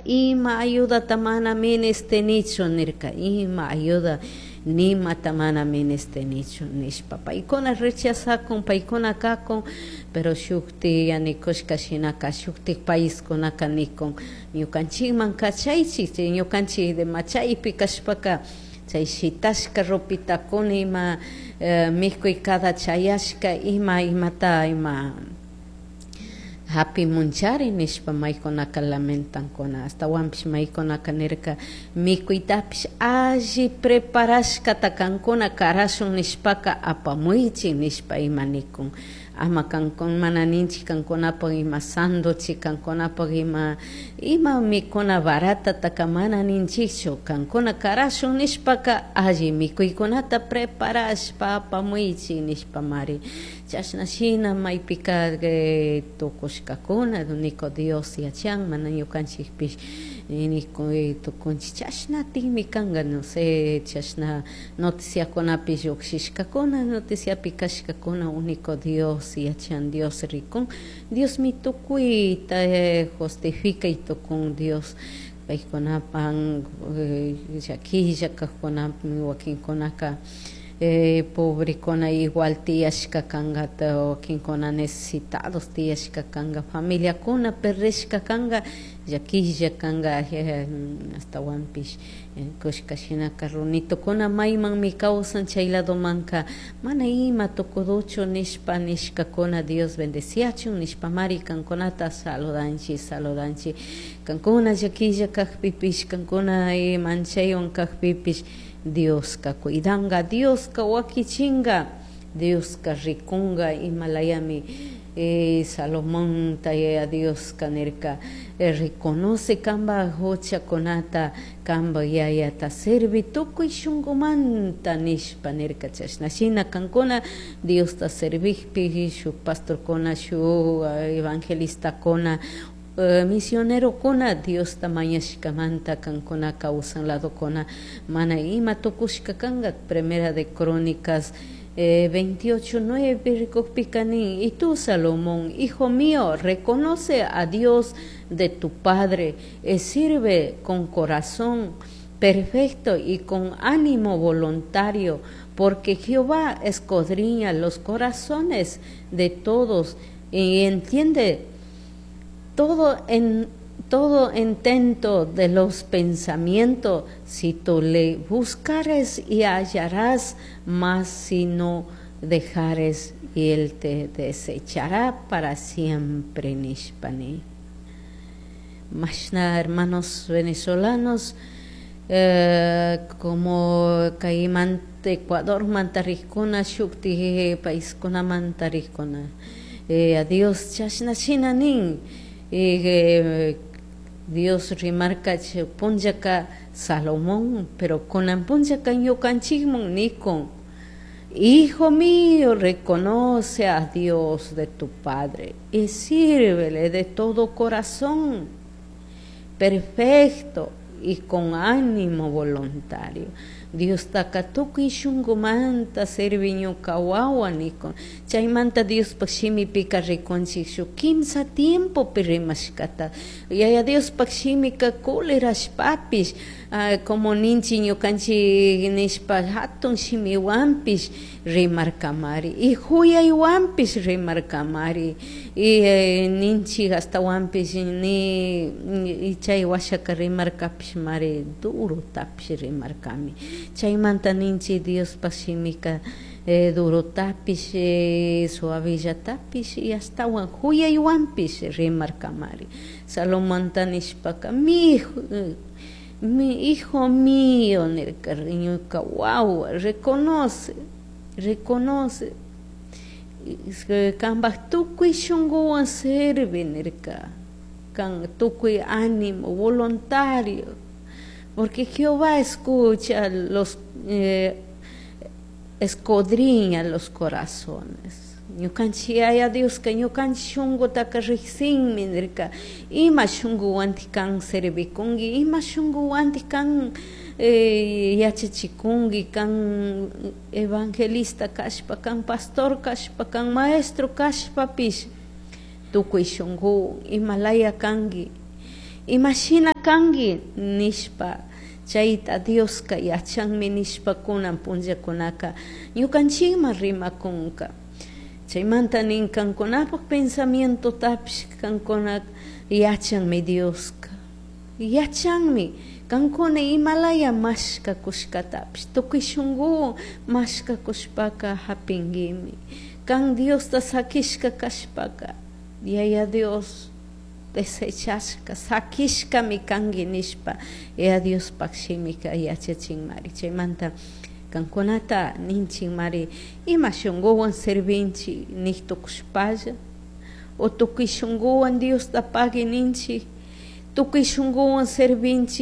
Ima ayudata mana minishtinichu nirka, ima ayuda nimata mana minishtinichu nishpa paykuna rechazakun, paykuna kakun, pero shukti yanikushka shinaka shuktik paiskunaka nikun ñukanchikman kachaychik, chay ñukanchik de machaypi kashpaka chay shitashka ropitakuna ima mikuy cada chayashka ima imata ima hapimunchari nishpa maykunaka lamentankuna, ashtawanpish maykunaka nirka mikuytapish alli preparashkata kankuna karashun nishpaka apamuychik nishpa ima nikun, ama kankuna mana ninchik kankunapak ima sanduchi, kankunapak ima ima mikuna baratataka mana ninchikchu, kankuna karashun nishpaka alli mikuykunata preparashpa apamuychik nishpamari chashna shina maypika tukushkakuna niko Dios yachan mana ñukanchikpish nikuy tukunchik chashnatikmi kanka, no sé, chashna noticiakunapi llukshishkakuna, noticiapi kashkakuna único Dios yachan, Dios rikun, Diosmi tukuyta justifica y tukun Dios paykunapan llakilla kajkunapi wakinkunaka pobrekuna igual tiyashka kanka, wakinkuna necesitados tiyashka kanka, familiakuna perdishka kanka, llakilla kanka, ashtawanpish kushka shinaka runitukuna maymanmi kawsan chay ladomanka mana ima tukuduchu nishpa nishkakuna Dios bendeciachun nishpamari kankunata saludanchik, saludanchik kankuna llakilla kakpipish, kankuna manchaywan kakpipish Dioska cuidanga, Dioska wakichinga, Dioska rikunga imalayami Salomón yaya Dioska nirka reconoce kanpak huchakunata kanpak yayata servi tukuy shunkumanta nishpa nirka chashna shina kankuna Diosta servikpi shuk pastorkuna, shuk evangelistakuna, misionerokuna Diosta mañashkamanta kankuna kawsan ladokuna mana ima tukushka kanka. Primera de Crónicas 28:9 rikukpika nin, y tú, Salomón, hijo mío, reconoce a Dios de tu padre, sirve con corazón perfecto y con ánimo voluntario, porque Jehová escudriña los corazones de todos y entiende todo en todo intento de los pensamientos. Si tú le buscares y hallarás, mas si no dejares, y él te desechará para siempre. Nishpani. Mashna hermanos venezolanos, como kaymanta Ecuador mantarikuna, shukti paiskuna mantarikuna, a Dios chashna shina nin, Dios rimarka punllaka Salomón, pero kunan punllaka ñukanchikman nikun, hijo mío, reconoce a Dios de tu padre y sírvele de todo corazón, perfecto y con ánimo voluntario. Diostaka tukuy shunkumanta servi ñuka wawa nikun. Chaymanta Diospak shimipika rikunchik shuk kimsa tiempopi rimashkata. Yaya Diospak shimika kulerashpapish, como ninchik ñukanchik nishpa hatun shimiwanpish rimarkamari, y huyaywanpish rimarkamari, y ninchik ashtawanpish ni chay washaka rimarkapish mari durotapish rimarkami. Chaymanta ninchik Diospak shimika durotapish, suavillatapish y ashtawan huyaywanpish rimarkamari. Salomonta nishpaka, mi hijo mío nirka, ñuka wawa, reconoce, reconoce kanpak tukuy shunkuwan servi nirka, kan tukuy ánimo voluntario, porque Jehová escucha los escudriña los corazones. Ñukanchik Yaya Dioska ñukanchik shunkutaka riksinmi nirka, ima shunkuwantik kan servikunki, ima shunkuwantik kan yachachikunki, kan evangelista kashpa, kan pastor kashpa, kan maestro kashpapish, tukuy shunkuwan imalaya kanki. Imashina kanki nishpa chayta Dioska yachanmi nishpa kunan punllakunaka ñukanchikman rimakunka. Chaymanta nin kankunapak pensamientotapish kankuna yachanmi Dioska. Yachanmi kankuna imalaya mashkakushkatapish tukuy shunkuwan mashkakushpaka hapinkimi. Kan Diosta sakishka kashpaka Yaya Dios desechashka sakishkami kanki nishpa Yaya Diospak shimika yachachinmari. Chaymanta kankunata ninchikmari ima shunkuwan servinchik nik tukushpalla o tukuy shunkuwan Diosta pagui ninchik tukuy shunkuwan servinchik.